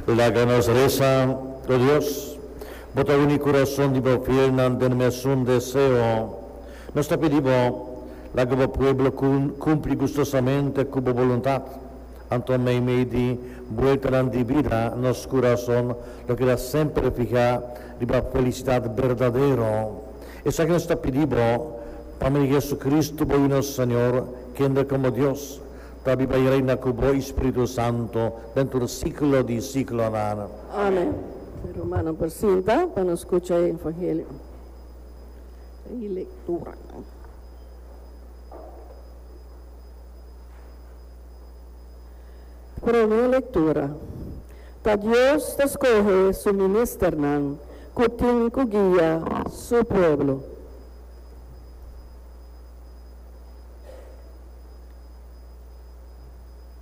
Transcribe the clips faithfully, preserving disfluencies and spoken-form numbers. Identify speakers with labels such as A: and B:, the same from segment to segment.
A: Laga nos resa. O Dios, Bo ta uni kurason di bo fielnan den mesun deseo. Nos ta pidi Bo, laga bo pueblo kumpli gustosamente ku bo boluntat. Anto meimei di bueltanan di bida, nos kurason lo keda semper fihá riba felisidat berdadero. Esaki nos ta pidi Bo pa medio di Jesucristo, bo Yu nos Señor, kende komo Dios ta biba i reina ku bo i Spiritu Santu den tur siglo di siglonan.
B: Amen. Rumannan por sinta pa nos skucha e Evangelio i lekturanan. Promé lektura, Ta Dios ta skohe su ministernan ku tin ku guia su pueblo.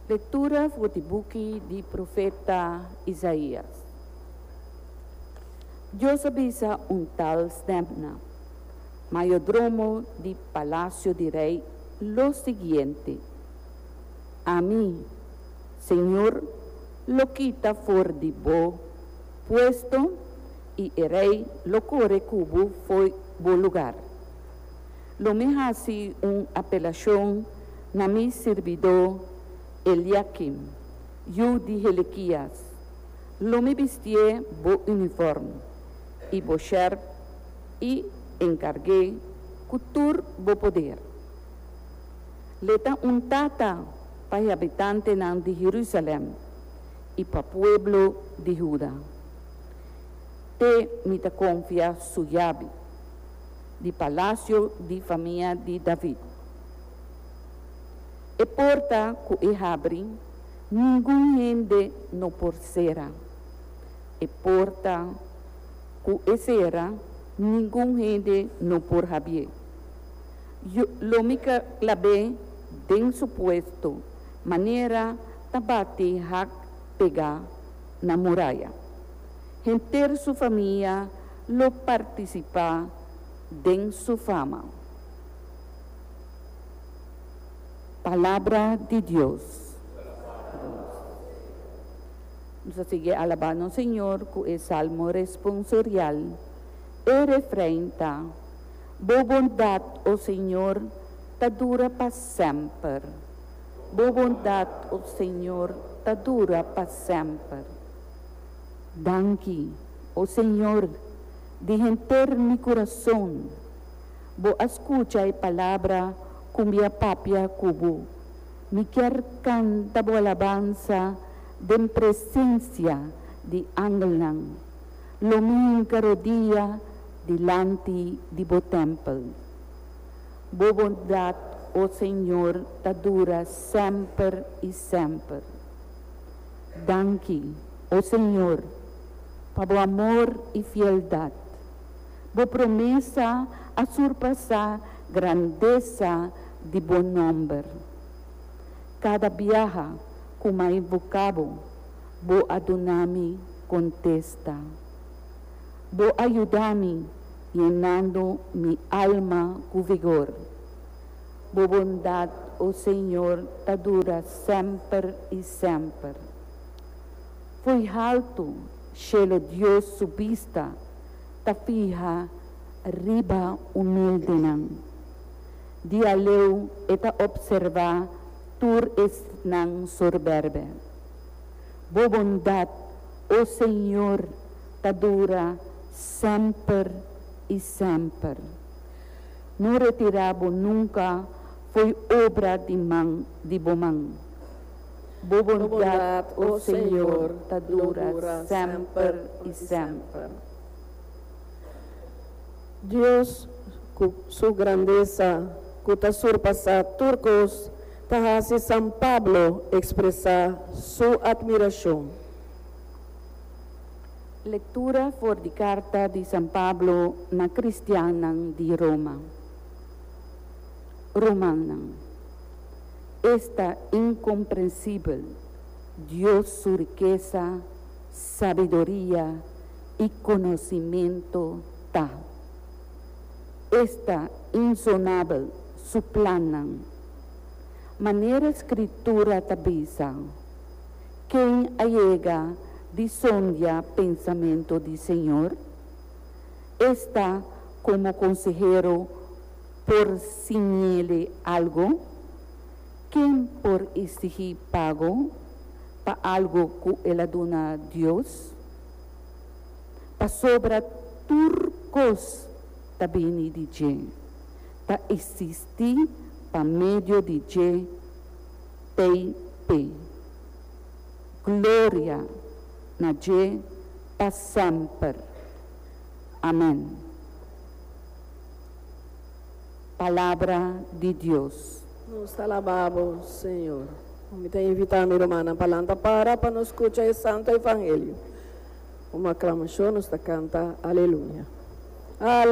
C: Lektura for di buki di profeta Isaías. Dios a bisa un tal Sebna, mayordromo di palasio di rei, lo siguiente, Ami, Señor, lo kita for di bo puesto i e rei lo kore ku bo fo'i bo lugar. Lo mi hasi un apelashon na mi sirbidó Eliakim, yu di Helekias. Lo mi bistié bo unifòrm i bo shèrp i enkarg'é ku tur bo poder. L'e ta un tata pa e habitantenan di Herúsalèm i pa pueblo di Huda. Te mi ta konfia su yabi di palasio di famia di David. E porta ku e habri, ningun hende no por sera. E porta ku e sera, ningun hende no por habié. Yo lo mi klab'é den su puesto, manera ta bati hak pegá na muraya. Henter su famia lo partisipá den su fama. Palabra di Dios. Nos a sigui alabá nos Señor ku e salmo responsorial. E refrein ta, Bo bondat, o Señor, ta dura pa semper. Bo bondat, o Señor, ta dura pa semper. Danki, o Señor, di henter mi kurason. Bo a skucha e palabra ku mi a papia ku bo. Mi kier kanta bo alabansa den presensia di angelnan. Lo mi hinka rodia dilanti di bo tèmpel. Bo bondat, o Señor, ta dura semper i semper. Danki, o Señor, pa bo amor i fieldat. Bo promesa a surpasá grandesa di bo nòmber. Kada biaha ku m'a invoká bo, bo a duna mi kontesta. Bo a yuda mi yenando mi alma ku vigor. Bo bondat, o Señor, ta dura semper i semper. Fo'i haltu shelu Dios su bista ta fiha riba humildenan. Di aleu e ta opservá tur esnan sorbèrbè. Bo bondat, o Señor, ta dura semper i semper. No retirá bo nunka fo'i obra di man di bo man. Bo bondat, o Señor, ta dura semper i semper.
B: Dios, ku su grandesa ku ta surpasá tur kos, ta hasi San Pablo ekspresá su atmirashon.
C: Lektura for di karta di San Pablo na kristiannan di Roma. Rumannan, esta inkomprensibel Dios su rikesa, sabiduria i konosimentu ta! Esta insonabel su plannan! Manera Skritura ta bisa, Ken a yega di sondia pensamentu di Señor? Esta komo konsehero por siñ'é algu? Ken por eksigí pago pa algu ku el a duna Dios? Pasobra tur kos ta bini di dje, ta eksistí pa medio di dje, T P. Gloria na dje pa semper. Amèn. Palabra di Dios.
B: Nos ta alabá bo, Señor. Mi ta invitá mi rumannan pa lanta para pa nos skucha e Santu Evangelio. Un aklamashon, nos ta kanta Aleluya. Aleluya.